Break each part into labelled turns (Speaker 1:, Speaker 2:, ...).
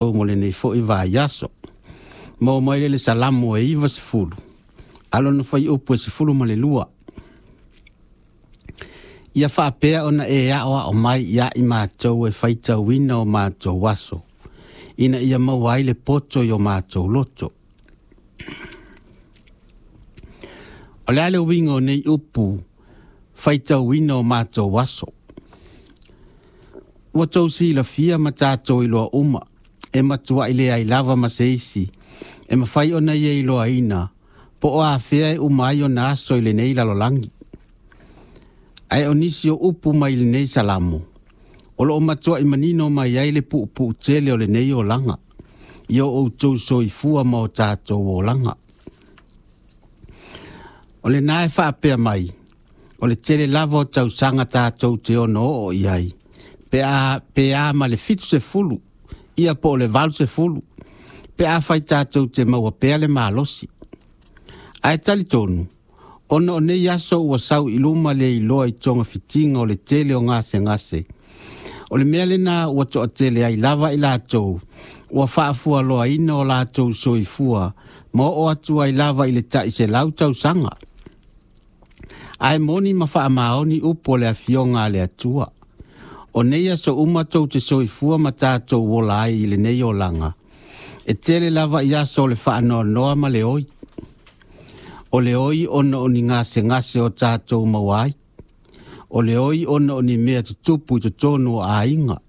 Speaker 1: Mo lenei foi vaiaso. Maua mai lea i le Salamo e 90, a o lona fuaiupu e 12. Ia faapea ona e aoao mai ia i matou e faitauina o matou aso, ina ia maua ai le poto i o matou loto. O le a le uiga o nei upu, faitauina o matou aso? Ua tou silafia ma tatou iloa uma, e matuai leai lava ma se isi e mafai ona ia iloaina po o afea e uma ai ona aso i lenei lalolagi. Ae o nisi o upu mai lenei salamo, o lo o matuai manino mai ai le puupuu tele o lenei olaga, i o outou soifua ma o tatou olaga. O lena e faapea mai, o le tele lava o tausaga tatou te ono oo i ai, pe a, pe a ma le 70, ia po o le 80, pe afai tatou te maua pea le malosi. Ae talitonu, ona o nei aso ua sau i luma le iloa i togafitiga o le tele o gasegase, o le mea lena ua toatele ai lava i latou ua faafualoaina o latou soifua ma oo atu ai lava i le tai 100 tausaga. Ae moni ma faamaoni upu o le Afioga a le Atua. O nei aso uma tou te soifua ma tatou ola ai i lenei olaga, e tele lava i aso o le faanoanoa ma le oi. O le oi ona o ni gasegase o tatou maua ai. O le oi ona o ni mea tutupu i totonu o aiga.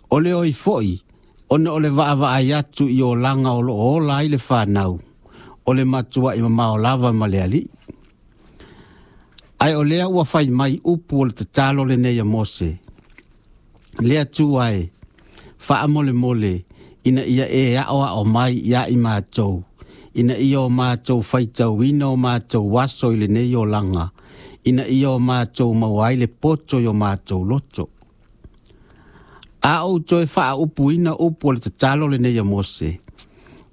Speaker 1: O le oi foi ona o le vaavaai atu i olaga o lo o ola ai le fanau, o le matuai mamao lava ma le Alii. Ae o lea ua fai mai upu o le tatalo lenei a Mose, le Atua e, faamolemole ina ia e aoao mai ia i matou, ina ia o matou faitauina o matou aso i lenei olaga, ina ia o matou maua ai le poto i o matou loto. A ou toe faaupuina upu o le tatalo lenei a Mose,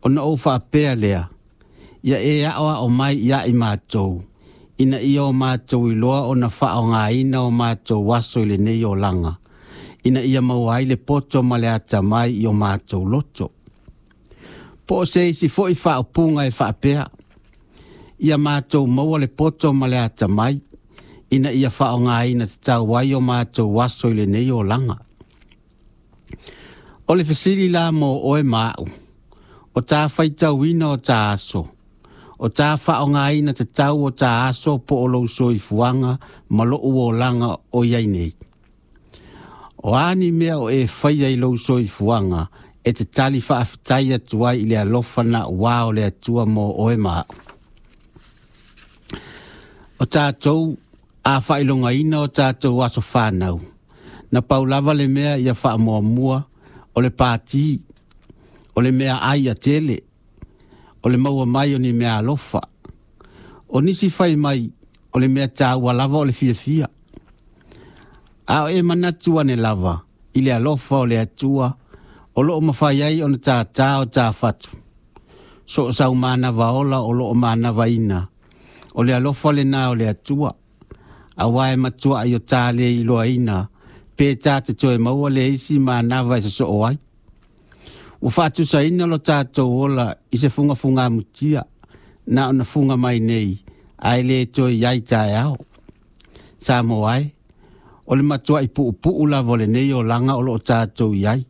Speaker 1: ona ou faapea lea, ia e aoao mai ia i matou, ina ia o matou iloa ona faaaogaina o matou aso i lenei olaga, ina ia maua ai le poto ma le atamai i o matou loto. Po o se isi foi faaupuga e faapea, ia matou maua le poto ma le atamai, ina ia faaaogaina tatau ai o matou aso i lenei olaga. O le fesili la mo oe ma au, o ta faitauina o ta aso, o ta faaaogaina tatau o ta aso po o lou soifuaga ma lou olaga o i ai nei. O a ni mea o e faia i lou soifuaga e te tali faafetai atu ai i le alofa naua o le Atua mo oe ma au. O tatou a faailogaina o tatou aso fanau, na pau lava le mea ia faamuamua o le pati, o le mea ai a tele, o le maua mai o ni mea alofa. O nisi fai mai o le mea taua lava o le fiafia. A o e manatu ane lava i le alofa o le Atua o lo o mafai ai ona tātā o tā fatu. So o sau manava ola o lo o manavaina, o le alofa lena o le Atua. Aua e matuai o tā le iloaina, pe tā te toe maua le isi manava e sosoo ai. Ua faatusaina lo tatou ola i se fugafugamutia, na ona fuga mai nei, ae le toe i ai taeao. Samoa e, o le matuai puupuu lava o lenei olaga o lo o tatou i ai.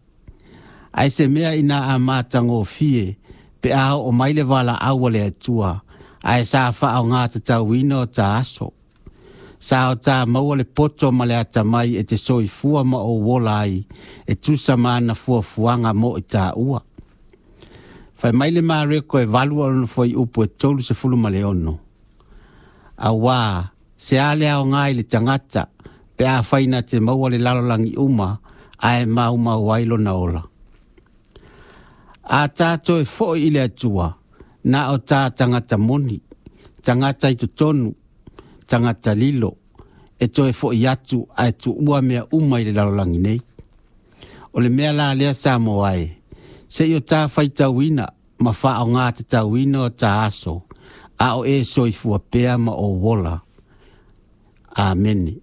Speaker 1: Ae se mea ina a matagofie pe a oo mai le valaau a le Atua, ae sa faaaoga tatauina o ta aso. Sa o ta maua le poto ma le atamai e te soifua ma ou ola ai, e tusa ma ana fuafuaga mo i taua. Fai mai le Mareko e 8 o lona fuaiupu e 36. Auā, se a le aoga i le tagata pe afai na te maua le lalolagi uma ae maumau ai lona ola. A ta toe foi i le Atua, na o ta tagata moni, tagata i totonu, tagata lilo, e toe foi atu ae tuua mea uma i le lalolagi nei. O le mea la lea Samoa e, se i o ta faitauina ma faaaoga tatauina o ta aso, a o e soifua pea ma ou ola. Amene.